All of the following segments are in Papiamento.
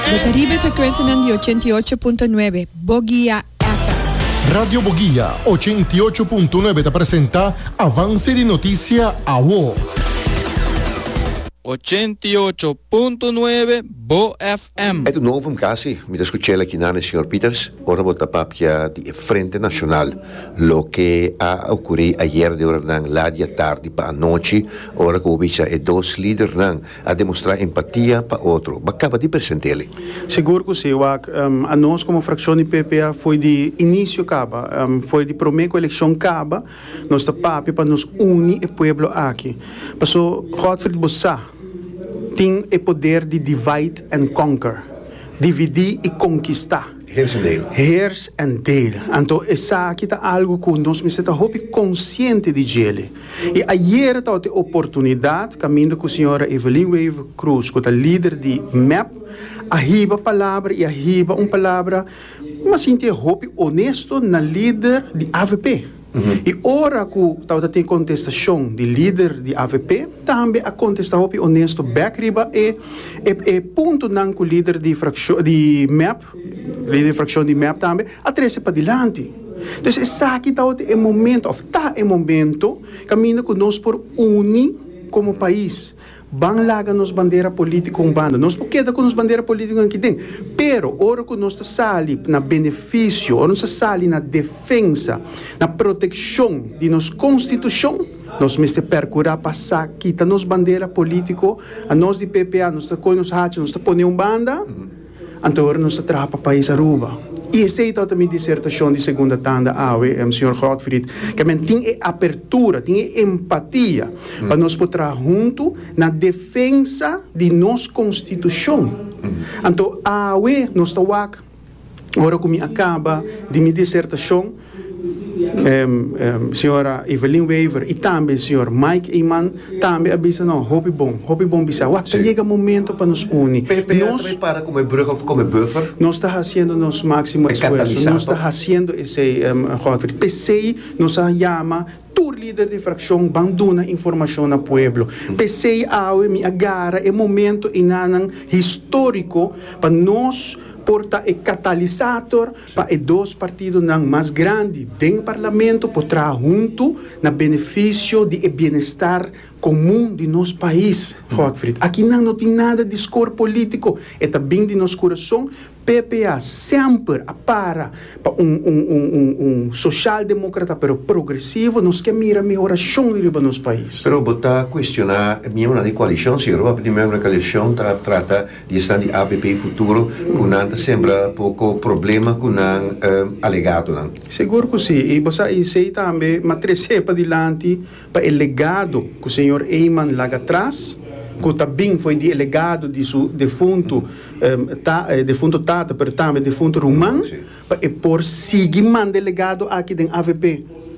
Bo ta riba e frekuensianan di 88.9 Boguia FM. Radio Boguia 88.9 ta presenta Avance di Noticia Awo. 88.9 Bo FM. E ta un novum casi, mi ta scuchel aki nan e señor Pieters, ora bo ta papia di e Frente Nacional, loke a ocuri ayer den oranan laat di atardi pa anochi, ora cu bo bisa e dos lidernan a demostra empatia pa otro. Bo a caba di presentele. Sigur cu si, wak. Anos como fraccion di PPA foi di inicio caba, foi di prome cu eleccion caba, nos ta papia pa nos uni e pueblo aki. Paso, Godfried bo sa, tin e poder di divide and conquer, dividi y conquista. Heers en deel. Heers en deel. Anto esaki ta algo cu nos mester ta hopi consciente di djele. I ayera tabata e oportunidat kaminda ku señora Evelyn Wever Croes ku ta lider di mep a hiba palabra i a hiba un palabra mi a sinti e hopi honesto na lider di avp. I ora ku tabata tin kontestashon di lider di avp tambe a kontesta hopi honesto bek riba e e puntonan ku lider di frakshon di mep Lider di fraccion di mep tambe a trece padilanti. Dus esaki tabata e momento of ta e momento caminda cu nos por uni como pais. Ban laga nos bandera politico un banda. Nos por keda cu nos bandera politico aki den, pero ora cu nos ta sali na beneficio, ora nos ta sali na defensa, na proteccion di nos constitucion, nos mester percura pa sa kita nos bandera politico. Anos di PPA nos ta coge nos hacha, nos ta pone un banda. Anto ora nos ta traha pa pais Aruba. I esei tabata mi disertashon di segunda tanda awe, señor Godfried, ke men tin e apertura, tin e empatia pa nos por traha huntu na defensa di nos konstitushon. Anto awe nos ta wak, ora ku mi a kaba di mi disertashon, Señora Evelyn Wever y tambe señor Mike Eman tambe a bisa no hopi bon, hopi bon bisa. Wak ta yega momento pa nos uni. PPA ta bay para como e brug of como e buffer? Nos ta haciendo nos maximo esfuerzo, nos ta haciendo esey Godfrey. P'esey nos a yama tur lider di fraccion ban duna informacion na pueblo. P'esey awe mi a gara e momento enanan historico pa nos por ta e catalisator Pa e dos partidonan mas grandi den parlamento por traha huntu na benefisio di e bienestar komun di nos pais, Godfried. Akinan no tin nada di skor polítiko, e ta bin di nos kurason. PPA semper a para pa un un un un un sosialdemókrata pero progresivo, nos ke mira mehorashon riba nos pais. Pero bo ta kuestioná e miembronan di koalishon, si Rob di miembro di koalishon ta trata Di esnan di avp Futuro ku nan ta sembra poko problema ku nan alegatonan. Sigur ku si. I bo sa esei tambe m'a trese padilanti pa e legado ku señor Eman laga atras, ku ta bin fo'i di e legado di su defuntu ta defuntu tata pero tambe defuntu ruman, pa e por sigui manda e legado aki den avp.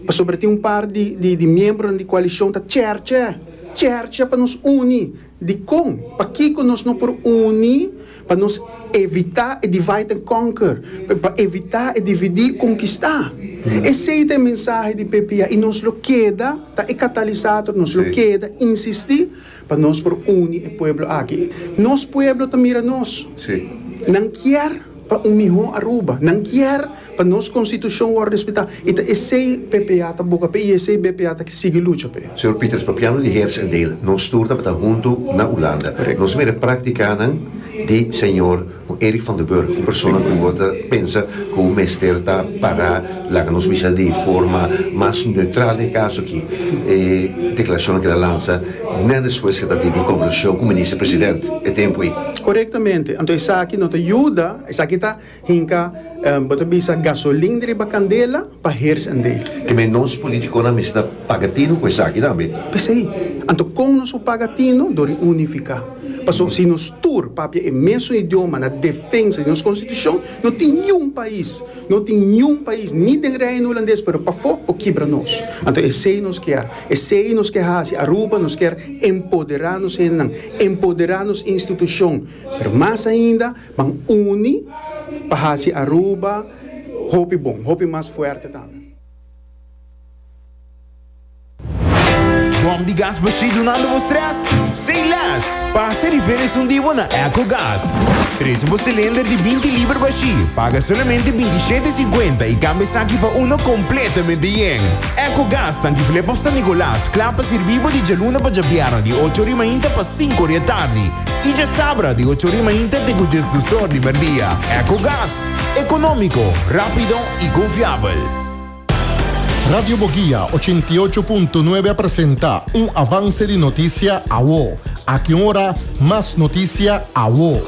Pasobra tin un par di di miembronan di koalishon ta chèrchè, chèrchè pa nos uni. Dikon? Pakiko nos no por uni pa nos evitá e divide and conquer, pa evitá e dividí i konkistá? Esei ta e mensahe di PPA i nos lo keda ta e katalisator, nos lo keda insistí pa nos por uni e pueblo aki. Nos pueblo ta mira nos. Nan kier pa un mihó Aruba. Nan kier pa nos Constitucion worde respetá y ta esey PPA ta boga p'e y esey BPA ta sigui lucha p'e. Señor Pieters, papiando di Heers en Deel, nos tur tabata huntu na Hulanda. Nos mira practicanan di señor Eric van der Burg, un persona cu bo ta pensa cu mester ta para, laga nos bisa di forma mas neutral den e caso aki. E declaracionnan cu el a lansa net despues cu e ta tin conversacion cu Minister President e tempo ey. Corectamente. Anto esaki no ta yuda, esaki ta Hinka, bo ta bisa gasolin riba kandela pa heers en deel. Ke men nos politikonan mester ta paga tinu ku esaki tambe. P'esei, anto kon nos por paga tinu? Dor di unifiká. Pasobra si nos tur papia e mesun idioma na defensa di nos konstitushon, no tin niun pais, no tin niun pais, ni den Reino Hulandes pero pafó, por kibra nos. Anto esei nos kier, esei nos ke hasi. Aruba nos kier empoderá nos hendenan, empoderá nos institushon, pero mas ainda, Ban uni pa haci Aruba hopi bon, hopi mas fuerte tambe. Bom di. gas bashí dunando bo stress? Say less! Pasa riba esun di bo na Ecogas. Trese bo cilinder di 20 liber bashí, paga solamente 27,50 y cambia esaki pa uno completamente yen. Ecogas tanki Flip of San Nicolas, kla pa sirbi bo di djaluna pa djabièrnè di ocho ori mainta pa sinku ori atardi y djasabra di ocho ori mainta te ku djesdus or di merdia. Ecogas, economico, rapido y confiabel. Radio Boguia 88.9 a presenta un avance di noticia awo. Aki un ora, mas noticia awo.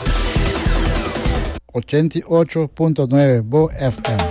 88.9 Bo FM.